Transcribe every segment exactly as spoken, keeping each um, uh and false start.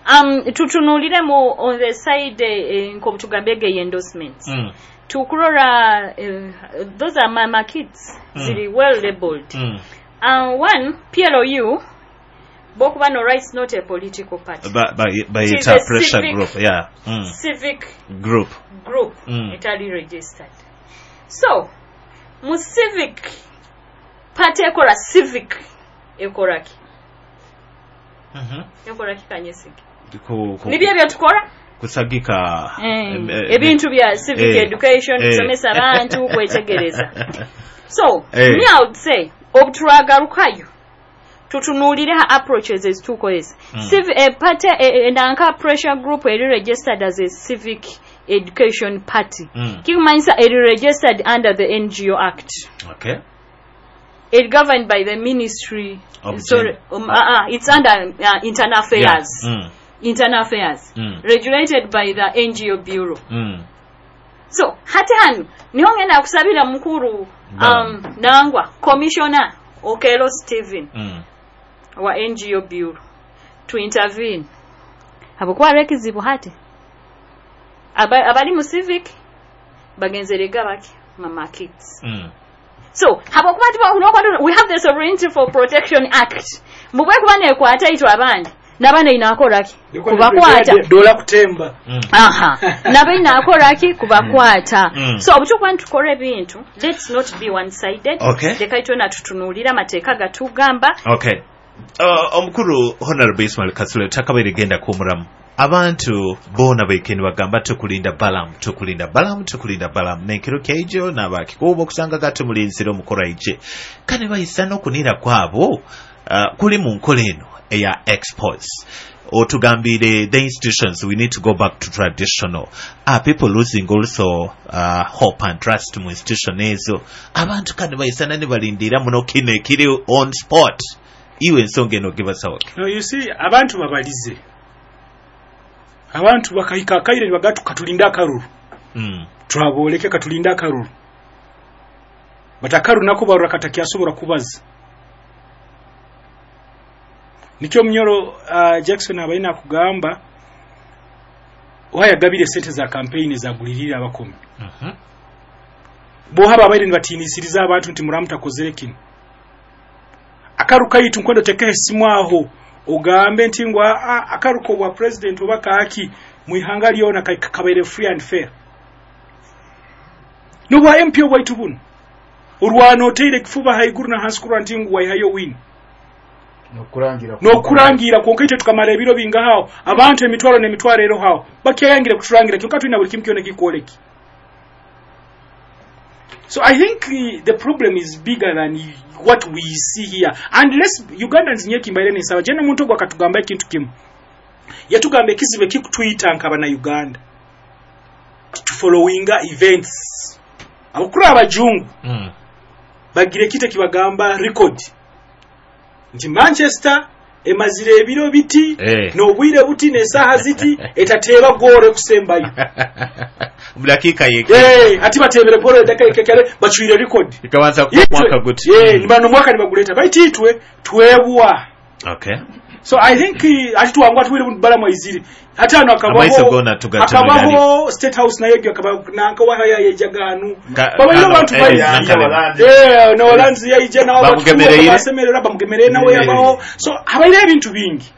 um, tutunuuliremu on the side eh, nk'obutugambye ge endorsements Mm. tukurora uh, those are my, my kids Mm. ziri well labeled Mm. uh, one P L U bokuba no rights, not a political party. Ba- ba- It is bayita a pressure civic- group, yeah mm. Civic group. Group Mm. etali registered. So mu civic party ekola civic ekoraki? Mhm. Ekoraki kanyesige? Ku- ku- Nibyo ebyo tukola. Kusagika Eh, em, eh, ebintu bya civic eh, education, eh. kusomesa abantu kwetegereza. So Eh. me, I would say obuturagarukayo tutunuulire ha approaches ezitukozesa. Mm. Civi- eh, party eh, eh, nanka pressure group eri registered as a civic education party, Mm. kikumanyisa eri registered under the N G O Act, okay it governed by the Ministry of Sorry, Gen- um, uh, uh, it's under uh, internal affairs. Yeah. Mm. Internal affairs, Mm. regulated by the N G O Bureau. Mm. So hati hano niho ngenda kusabira mukuru um, nangwa Commissioner Okelo Stephen Mm. wa N G O Bureau to intervene habwokuba ekizibu hati Aba- abali mu civic bagenzerega baki mama kids. Mm. So habwokuba tiba- nokwatu- we have the Sovereignty for Protection Act mbubwe kuba nekwata itwe abandi nabana inakoraki kubakwata. Dola kutemba. Mm. Aha, nabo inakoraki kubakwata. Mm. So obutukuba nitukola ebintu, let's not be one sided. Okay. Leka itwena tutunuulire amateeka gatugamba. Okay, uh, omukulu Honorable Ismail Kasule takabaire genda kuwumulamu. Abantu boona baikeni bagamba tukulinda Balamu, tukulinda Balamu, tukulinda Balamu nenkiro kyaijo nabakikuuba okusanga gatumulinzire omukolo aije kane bayisa n'okunira kwabo uh, kuli mu nkola eno eya expose. Otugambire the institutions, we need to go back to traditional. Are people losing also uh, hope and trust mu institution ezo? Abantu kane bayisana ne balindira muno kino ekiri on spot. Iwe ensonga eno gibasawoke? No, you see, abantu babalize, abantu bakahika akaire nibagatu katulinde akaruru. mm. Twaboleke katulinde akaruru, but akaruru nako barura katakyasobora kubaza. Nikyo Munyoro uh, Jackson abalina kugamba wayagabire sente za campaign zagulirira abakomi. mm -hmm. Bohaba abaire nibatinisiriza abantu nti muramutakozere kino akaru kaitu nkwendo tekehe simu aho ogambe nti ngwa "Ah, akaruko bwa president oba kaaki mwihanga lyona ka- kabaire free and fair nobwa M P obwaitu buno orwana oteire ekifuba haiguru na hansi kurwa nti ngu waihayo win." Nokurangira. Nokurangira konka itwe tukamara ebiro bingahawo abantu emitwalo n'emitwalo ero hawo bakyayangire kuturangira kyonka tulina buli kimu kyona kikwoleki. So I think uh, the problem is bigger than what we see here. And let's Ugandans nyekimbaire nesaba jena omuntu ogwo akatugamba ekintu kimu yatugamba ekizibu ekikutuyita nk'abannayuganda tufollowinga events. Abakuru abajungu mm. bagira ekintu ekibagamba record nti Manchester emazire ebiro biti Eh. n'obwire buti n'esaaha ziti etateeba goolo ekusembayo. Mu dakiika yeke. Eh, ati bateebere goolo edakika ekekere bacwire record. Ikabanza kuba mwaka guti. Eh, nibano omwaka nibaguleta baitu itwe twebwa. Okay So I think eh, ati tuwangwa tuwire balamu aizire ate hano Amaiso akabaho gona tugatunulira. Akabaho State House nayo egyo akaba nanka yejaganu Ka- babaire kano, abantu eh, baingi. Nankalema. Eh, no Holanzi yaije nawo. Bamugemereire. Basemerera bamugemerere nawe. Eh. Yabaho so habaire ebintu bingi.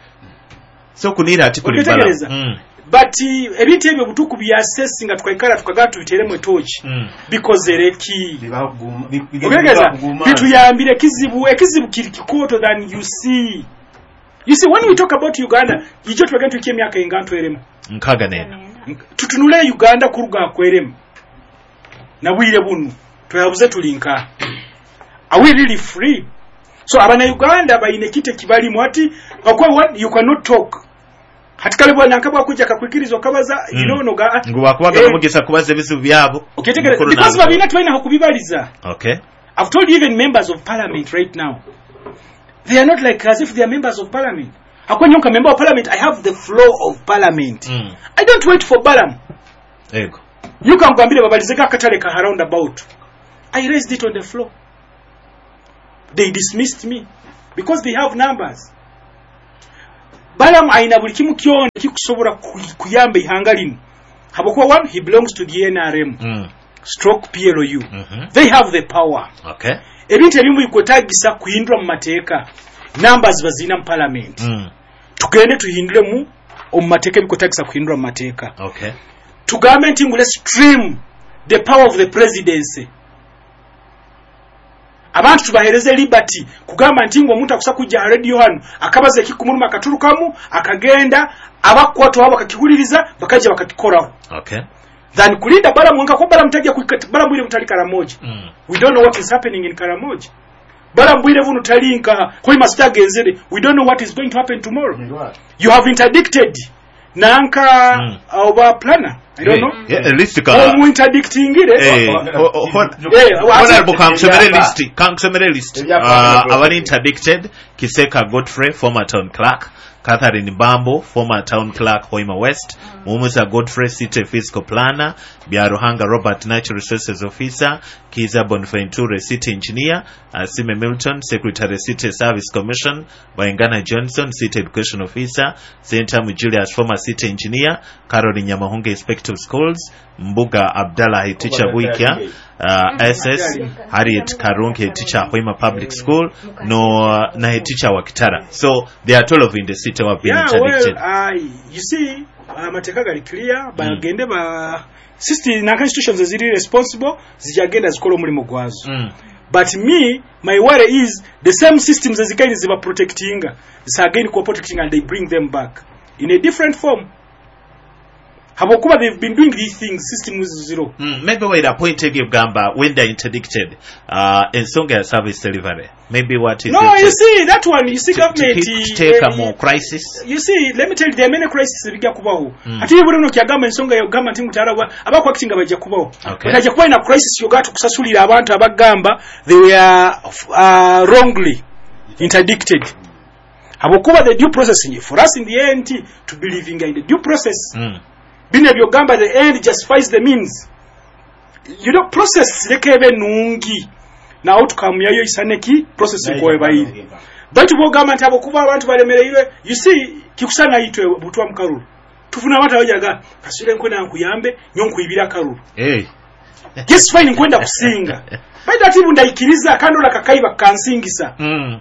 So kunira ati kuli Okwetegereza. Balamu mm. But eh, ebintu ebyo butuku byassess nga tukaikara tukagaa tubiteremu etoki mm. bikozere ki? Bibaguma- bi- bi- Okwetegereza. bibaguma. Bituyambire ekizibu ekizibu kiri kikoto than you see. You see, when we talk about Uganda ijo twagenda tuikie emyaka enga ntweremu. Nkaga neno. Tutunule Uganda kuruga akweremu nabwire bunu tweyabuze tulinka, are we really free? So abana Uganda bayine kite kibalimu ati okwa one, you cannot talk hati kale bwana nkabwa kuja kakwikiriza okabaza. Mm. You know noga Ngu bakubaga Eh. nomugisa kubaza ebizibu byabo. Okitegereza. Mukulu Because n'abikolo. babina tubalina kubibaliza. Okay I've told you, even members of parliament right now, they are not like as if they are members of parliament. Akwenyoka member of parliament, I have the flow of parliament. mm. I don't wait for Balam. Ego. Yuka nkugambire babalizeko akatale ka roundabout. I raised it on the floor. They dismissed me because they have numbers. Balaam ayina buli kimu kyona kikusobola ku- kuyamba ihanga lino, habwokuba one, he belongs to the N R M Mm. stroke P L U. Mhm. They have the power. Okay. Ebintu ebimu bikwetagisa kuhindura mu mateeka, numbers bazirina mu parliament. Mm. Tugende tuhinduremu omu mateeka ebikwetagisa kuhindura mu mateeka. Okay. Tugambe nti ngu let's trim the power of the presidency, abantu tubahereze liberty kugamba nti ngu omuntu akusa kujja ha radio hano akabaza ekikumuluma, akaturukamu akagenda, abakukwatwaho bakakihuliriza, bakajja bakakikoraho Okay. than kulinda Balaam nka ko Balaam tajja kuika- Balaam bwire mutali Karamoja. Mm. We don't know what is happening in Karamoja. Balaam bwire buno tali nka Hoima sitagenzere. We don't know what is going to happen tomorrow. You have interdicted nanka Mm. oba planner, I don't know. Yeah, at least ka Omuinterdictingire. Eh, o- o- hon- Eh, Honorable, kankusomere Ebyapa. list, kankusomere list. Ebyapa. Uh, abali interdicted: Kiseka Godfrey, former town clerk; Catherine Bambo, former town clerk, Hoima West; Mumusa Godfrey, city fiscal planner; Byaruhanga Robert, natural resources officer; Kiza Bonventure, city engineer; Asime Milton, secretary, city service commission; Baingana Johnson, city education officer; Sentamu Julius, former city engineer; Caroline Nyamahunga, inspector of schools; Mbuga Abdallah, teacher Bwikia uh, S S; Harriet Karunke, teacher Hoima Public School, no na teacher wa Kitara. So there are twelve in the city who have been Yeah, well, interdicted. uh, you see, amateeka gali clear, bagende ba system na institutions eziri responsible zijagenda zikola omulimu gwazo. Mm. But me, my worry is the same systems ezikaini ziba protectinga zisagaini kuba protecting and they bring them back in a different form, habwokuba they've been doing these things, systems zero. Mm, maybe we're point egamba when they're interdicted, uh, ensonga ya service delivery, maybe what is No, it? you see that one, you see to, to government keep- kiteeka eh, mu crisis. You see, let me tell you, there are many crises ebijja kubaho. Mm. Ate buli luno kyagamba ensonga yogamba nti mutala abakwactinga bajja kubaho. Okay. Bajja kuba ina crisis yoga tukusasulira abantu abagamba they were uh, wrongly interdicted, habwokuba the due process for us in the end to believing in the due process. Mm. Bino ebyogamba the end justifies the means, you know, process leka ebe nungi na outcome yayo isaneki process nkowebayire, baitu bwogamba nti abokuba abantu balemereirwe, you see, kikusana itwe butwa mukalulu tufuna abantu abajaga kasire nkwenda nkuyambe nyo nkuibira kalulu. Hey. Yes, fine, nkwenda kusinga, baitu ati bundaikiriza kandi ola kakaiba kansingisa. Mm.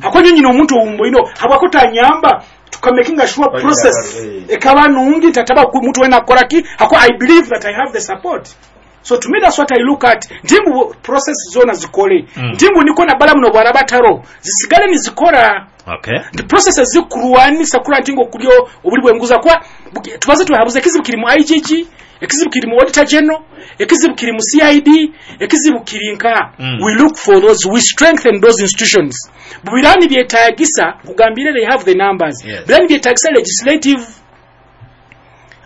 Akonye nyina omuntu owumbo ino habwako tanyamba tukamakinga sure Bali process eh. ekaba nungi tataba ku- muntu wena akola ki ako. I believe that I have the support, so to me that's what I look at, ntimbu process zona zikole. Mm. Ntimbu niko na bala muno bwaraba taro zisigale nizikora. Okay. The processes zikurwanisa kula ntingo kulyo obuli bwenguza kwa buki- tubaze twehabuze ekizibu kiri mu I G G, ekizibu kiri mu auditor general, ekizibu kiri mu C I D, ekizibu kiri nka. Mm. We look for those, we strengthen those institutions. Bubirani byetagisa kugambire they have the numbers. Yes. Birani byetagisa legislative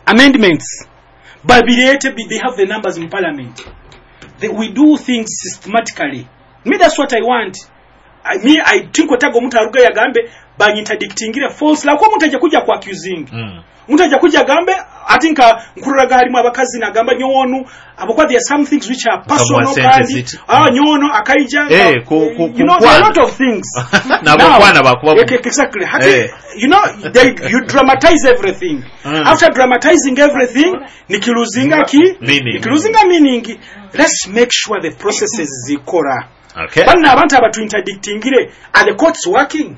amendments babirete bi- they have the numbers in parliament. They, we do things systematically. Me, that's what I want. I, me, I think otaga omuntu aruga yagambe banyinterdictingire false lako omuntu ajja kujja ku accusing. Mm. Omuntu ajja kujja agambe ati nka nkururaga halimu abakazi nagamba nyowono abokuba there are some things which are personal sente kandi ziti. ah nyowono akaija. Eh, ku- ku- You know, there are a lot kukwana. of things. Nabokwana bakuba Yeah, exactly. Hati, Eh. you know, they, you dramatize everything. Mm. After dramatizing everything, nikiluzinga ki? Meaning. Nikiluzinga meaning. Let's make sure the processes zikora. Okay. Banna abantu abatuinterdictingire, are the courts working?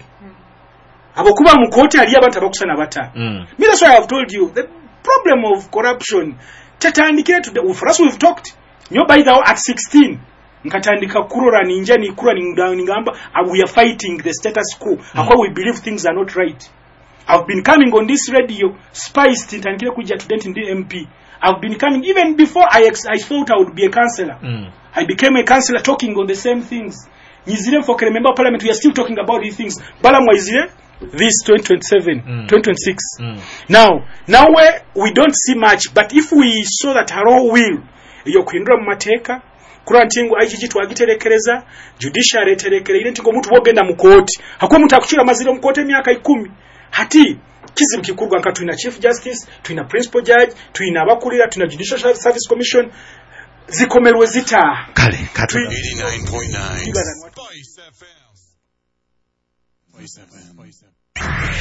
Abokuba mu kooti haliyo abantu abakusana bata. Mm. Me, that's why I've told you the problem of corruption tetandikire today. For us, we've talked nyo by the way, at sixteen nkatandika kurora ninja nikura ninga- ningamba uh, we are fighting the status quo mm. Akwa we believe things are not right. I've been coming on this radio spiced ntandikire kujja today ndi M P. I've been coming even before I, ex I thought I would be a councillor. Mm. I became a councillor talking on the same things. Nyizire mfokere member of parliament, we are still talking about these things. Balaam waizire this twenty twenty-seven, Mm. twenty twenty-six. Mm. Now, now we, we don't see much, but if we saw that haro will eyokuhindura mu mateeka kura nti ngu I G G twagiterekereza, judiciary eterekereire nti omuntu bwogenda mu kooti hakuba omuntu akucira amazire mu kooti emyaka ikumi hati kizibu kikurwa nka tulina chief justice, tulina principal judge, tulina abakulira, tulina judicial service commission zikomerwe zita. Kale katono. eighty-nine point nine Spice F M. Spice F M.